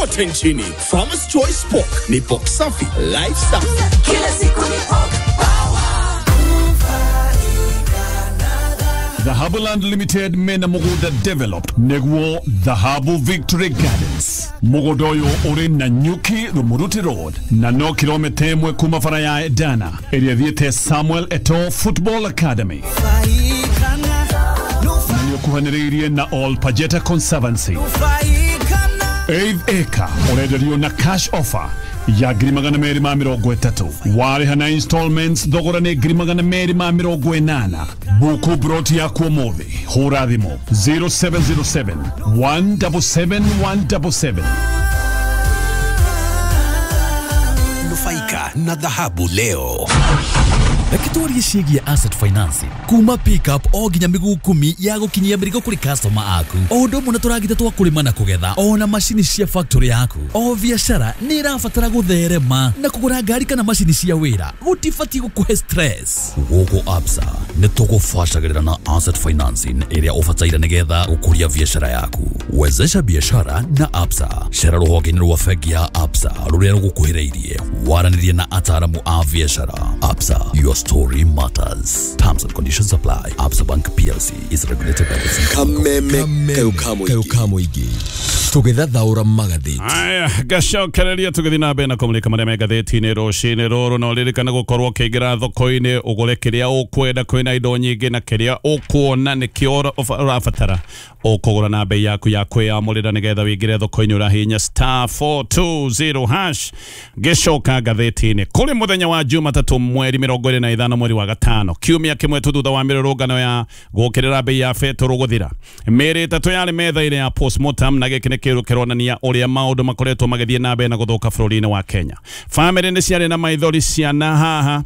kote nchini. Farmer's Choice Pork ni pork safi, life safi. Kila siku ni pork power. Dhahabu Land Limited mena mugunda developed neguo Dhahabu Victory Gardens mugunda uyu uri na Nyuki Rumuruti Road na no kilomita 1 kuma bara ya Edana ĩrĩa ĩthiĩte Samuel Eto'o Football Academy na nĩũkuhanĩrĩirie na All Pajeta Conservancy. 8 acre ũrenderio na cash offer ya 230,000 warĩha na installments thogora nĩ 280,000. Buku broti yaku ũmũthĩ, hũra thimũ 0707 177 177. Nufaika na dhahabu leo. Reke twarie ciĩgiĩ asset financing kuma pickup o nginya mĩguu 10 ya gũkinyia mĩrigo kũrĩ customer aku, o ũndũ ũmwe na tũragita twa kũrĩma na kũgetha, ona macini cia factory yaku. O biacara nĩ ĩrabatara gũtherema na kũgũra ngari kana macini cia wĩra gũtibatiĩ gũkũhe stress. Gũkũ Absa nĩ tũgũbacagĩrĩra na asset financing ĩrĩa ũbataire nĩgetha gũkũria biacara yaku. Wezesha biashara na Absa. Cera rũhonge-inĩ rwa bengi ya Absa rũrĩa rũgũkuhĩrĩirie, waranĩrie na ataaramu a biacara. Absa, your story matters. Terms and conditions apply. Absa Bank PLC is regulated by the Central Bank of Kameme kayo kamuigi tũgĩthathaũra magathĩti. Aya, ngacokereria tũgĩthiĩ na mbere na kũmũrĩka marĩa me ngathĩti-inĩ rũcinĩ rũrũ. Na ũririkane gũkorwo ũkĩingĩra thoko-inĩ ũgũre kĩrĩa ũkwenda, kwĩna indo nyingĩ na kĩrĩa ũkuona nĩkĩo ũrabatara ũkũgũra na bei yaku ya kwĩyamũrĩra, nĩgetha wĩingĩre thoko-inĩ ũrahihinya star 420 hash. Ngĩcoka ngathĩti-inĩ kũrĩ mũthenya wa Jumatatũ mweri 25 mweri wa gatano, kiumia kĩmwe tu thutha wa mĩrũrũngano ya gũkĩrĩra bei ya betũrũ gũthira. Mĩĩrĩ 3 yarĩ metha-inĩ ya postmortem, na gĩkĩ nĩ kĩndũ kĩronania ũrĩa maũndũ makoretwo magĩthiĩ na mbere na gũthũka bũrũri-inĩ wa Kenya. Famĩlĩ nĩ ciarĩ na maithori ciana haha,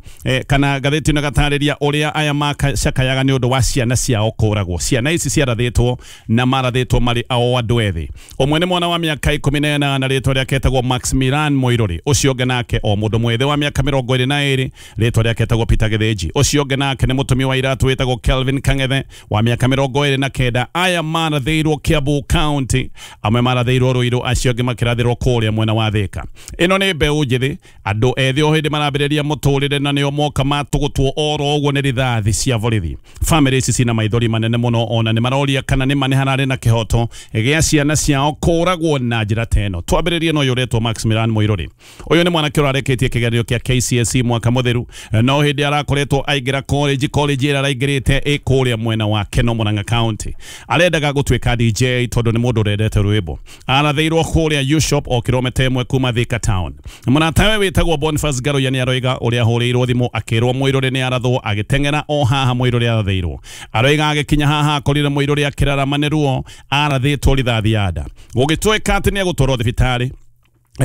kana ngathĩti ĩno ĩgatarĩria ũrĩa aya macakayaga nĩ ũndũ wa ciana ciao kũragwo. Ciana ici ciarathĩtwo na marathĩtwo marĩ o andũ ethĩ. Ũmwe nĩ mwana wa mĩaka 18 rĩtwa rĩake etagwo Maximilian Moirori, ũcio ũngĩ nake o mũndũ mwĩthĩ wa mĩaka 22 rĩtwa rĩake etagwo Peter Gĩthĩnji, ũcio ũngĩ nake nĩ mũtumia wa iratũ wĩtagwo Kelvin Kang'ethe wa mĩaka 29. Aya marathĩirwo Kiambu County, amwe marathĩirwo Ruiru, acio angĩ makĩrathĩrwo kũrĩa mwena wa Thika. Ĩno nĩ mbeũ njĩthĩ, andũ ethĩ o hĩndĩ marambĩrĩria mũtũrĩre na nĩo moka matũgũtwo oro ũguo nĩ rithathi cia borithi. Famĩlĩ ici cina maithori manene mũno, ona nĩ maroria kana nĩ ma nĩ hararĩ na kĩhoto gĩa ciana ciao kũragwo na njĩra ta ĩno. Twambĩrĩrie na ũyũ ũretwo Maximilian Moirori. Ũyũ nĩ mwanake ũrarĩkĩtie kĩgeranio kĩa KCSE mwaka mũtheru, no hĩndĩ arakoretwo aingĩra college ĩrĩa araingĩrĩte ĩ kũrĩa mwena wa Keno Murang'a County. Arendaga gũtuĩka DJ tondũ nĩ mũndũ ũrendete rwĩmbo. Arathĩirwo kũrĩa U-Shop o kilomita 1 kuma Thika Town. Mũratawe wĩtagwo Boniface Ngaruiya nĩ aroiga ũrĩa ahũrĩirwo thimũ akĩrwo Mũirũrĩ nĩ arathwo, agĩteng'era o haha Mũirũrĩ arathĩirwo. Aroiga agĩkinya haha akorire Mũirũrĩ akĩrarama nĩ ruo, arathĩtwo rithathi ya nda. Gũgĩtuĩka atĩ nĩ egũtwarwo thibitarĩ.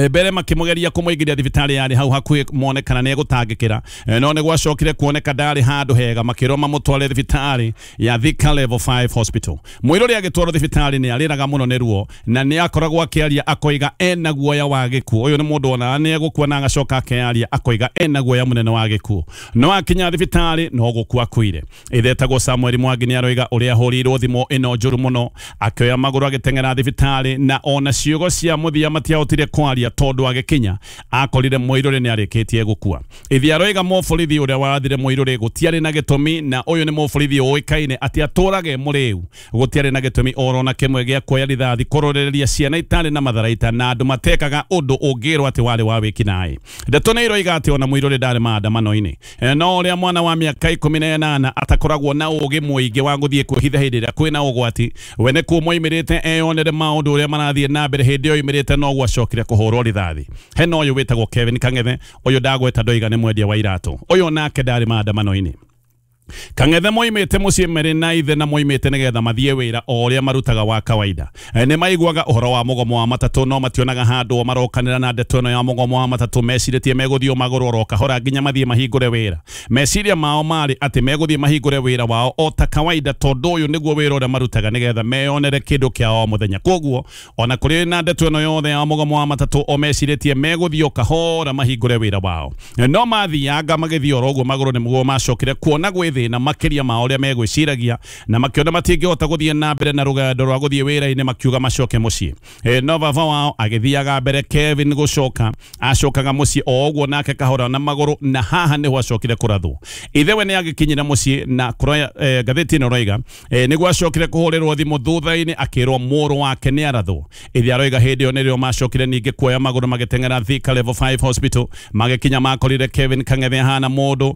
Mbere makĩmũgeria kũmũingĩria thibitarĩ yarĩ hau hakuhĩ mone kana nĩ egũtangĩkĩra, no nĩ gwacokire kuoneka ndarĩ handũ hega, makĩrwo mamũtware thibitarĩ ya Thika Level 5 Hospital. Mũirũrĩ agĩtwarwo thibitarĩ nĩ arĩraga mũno nĩ ruo na nĩ akoragwo akĩaria akoiga ena guoya wa gĩkuũ. Ũyũ nĩ mũndũ ona nĩ egũkua na agacoka akearia akoiga ena guoya mũnene wa gĩkuũ. No akinya thibitarĩ no gũkua akuire. Ithe etagwo Samuel Mwangi nĩ aroiga ũrĩa ahũrĩirwo thimũ ĩno njũru mũno, akĩoya magũrũ agĩteng'era thibitarĩ, na ona ciugo cia mũthia matiahotire kwaria tondũ agĩkinya akorire Mũirũrĩ nĩ arĩkĩtie gũkua. Ithe aroiga mũborithi ũrĩa warathire Mũirũrĩ gũtiarĩ na gĩtũmi, na ũyũ nĩ mũborithi ũĩkaine atĩ atũrage mũrĩu. Gũtiarĩ na gĩtũmi orona kĩmwe gĩa kuoya rithathi kũrorereria ciana itarĩ na matharaita na andũ matekaga ũndũ ũngĩrwo atĩ warĩ wa wĩkinaĩ. Ndeto nĩ iroiga atĩ ona Mũirũrĩ ndarĩ maandamano-inĩ, no ũrĩa mwana wa mĩaka 18 atakoragwo na ũgĩ mũingĩ wa gũthiĩ kwĩhitha hĩndĩ ĩrĩa kwĩna ũgwati, we nĩ kuo moimĩrĩte eyonere maũndũ ũrĩa marathiĩ na mbere. Hĩndĩ ĩyo oimĩrĩte no gwacokire kũhũrwo rithathi. Hena ũyũ wĩtagwo Kevin Kang'ethe, ũyũ ndagweta ndoiga nĩ mwendia wa iratũ, ũyũ nake ndarĩ maandamano-inĩ. Kang'ethe moimĩte mũciĩ merĩ na ithe na moimĩte nĩgetha mathiĩ wĩra o ũrĩa marutaga wa kawaida. Nĩ maiguaga ũhoro wa mũgomo wa matatũ no mationaga handũ marokanĩra na ndeto ĩno ya mũgomo wa matatũ. Mecirĩtie megũthiĩ magũrũ oro kahora nginya mathiĩ mahingũre wĩra. Meciria mao marĩ atĩ megũthiĩ mahingũre wĩra wao o ta kawaida, tondũ ũyũ nĩguo wĩra ũrĩa marutaga nĩgetha meyonere kĩndũ kĩa o mũthenya. Koguo ona kũrĩ na ndeto ĩno yothe ya mũgomo wa matatũ, o mecirĩtie megũthiĩ o kahora mahingũre wĩra wao. No mathianga magĩthiĩ oro ũguo magũrũ nĩguo macokire kuona gwĩ thĩna makĩria ma ũrĩa megwĩciragia na makĩona matingĩhota gũthiĩ na mbere na rũgendo rwa gũthiĩ wĩra-inĩ makiuga macoke mũciĩ. No baba wao agĩthiaga mbere Kevin gũcoka acokaga mũciĩ o ũguo nake kahora na magũrũ na haha nĩho acokire kũrathwo. Ithe we nĩ agĩkinyire mũciĩ na kũroya ngathĩti ĩno roiga nĩguo acokire kũhũrĩrwo thimũ thutha-inĩ akĩrwo mũrũ wake nĩ arathwo. Ithe aroiga hĩndĩ ĩyo nĩrĩo macokire ningĩ kuoya magũrũ magĩteng'era Thika Level 5 Hospital magĩkinya makorire Kevin Kang'ethe ahana mũndũ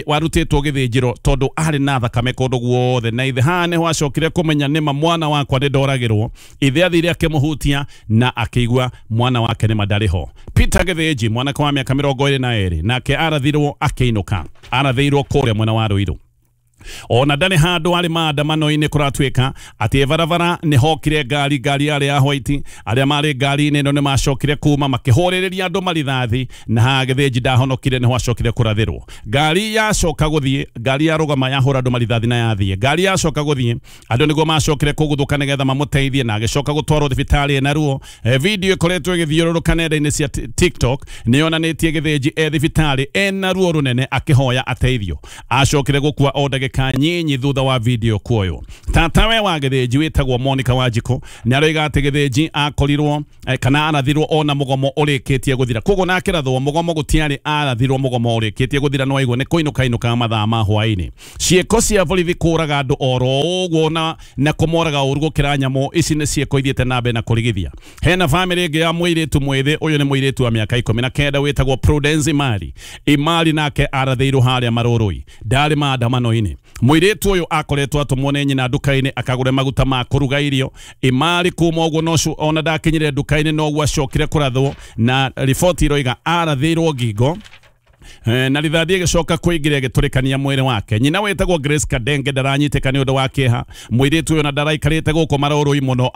warutĩtwo gĩthĩnjĩro tondũ arĩ na thakame kũndũ guothe na ithe haha nĩho acokire kũmenya nĩma mwana wakwa nĩ ndoragĩrwo. Ithe athire akĩmũhutia na akĩigua mwana wake nĩma ndarĩ ho. Peter Gĩthĩnji mwanake wa mĩaka 22 nake arathirwo akĩinũka, arathĩirwo kũrĩa mwena wa Ruiru. Ona ndarĩ handũ arĩ maandamano-inĩ kũratuĩka atĩ barabara nĩ hokire ngari yarĩ ya white arĩa marĩ ngari-inĩ ĩno nĩ macokire kuma makĩhũrĩrĩria andũ marithathi na haha Gĩthĩnji ndahonokire nĩho acokire kũrathĩrwo. Ngari yacoka gũthiĩ, ngari yarũgama yahũra andũ marithathi na yathiĩ. Ngari yacoka gũthiĩ andũ nĩguo macokire kũguthũka nĩgetha mamũteithie na agĩcoka gũtwarwo thibitarĩ ena ruo. Video ĩkoretwo ĩgĩthiũrũrũka nenda-inĩ cia TikTok nĩ yonanĩtie Gĩthĩnji e thibitarĩ ena ruo rũnene akĩhoya ateithio. Acokire gũkua o ndagĩka nyinyi thutha wa video kuoywo. Tatawe wa Gĩthĩnji wĩtagwo Monica Wanjikũ nĩ aroiga atĩ Gĩthĩnji akorirwo kana arathirwo ona mũgomo ũrĩkĩtie gũthira. Koguo nake rathwo mũgomo gũtiarĩ arathirwo mũgomo ũrĩkĩtie gũthira no aigua nĩ kũinũka inũkaga mathaa ma hwaĩ-inĩ. Ciĩko cia borithi kũraga andũ oro ũguo na kũmoraga ũru gũkĩra nyamũ ici nĩ ciĩko ithiĩte na mbere na kũrigithia. Hena bamĩrĩ ĩngĩ ya mũirĩtu mwĩthĩ, ũyũ nĩ mũirĩtu wa mĩaka 19 wĩtagwo Prudence Imari. Imari nake arathĩirwo harĩa Marũrũi, ndarĩ maandamano-inĩ. Mũirĩtu ũyũ akoretwo atũmwo nĩ nyina nduka-inĩ akagũre maguta ma kũruga irio. Imari kuma ũguo nocio ona ndakinyire nduka-inĩ noguo acokire kũrathwo na riboti iroiga arathĩirwo ngingo na rithathi ĩgĩcoka kũingĩra ĩgĩtũrĩkania mwĩrĩ wake. Nyina wĩtagwo Grace Kadenge ndaranyitĩka nĩ ũndũ wa kĩeha. Mũirĩtu ũyũ na ndaraikarĩte gũkũ Marũrũi mũno.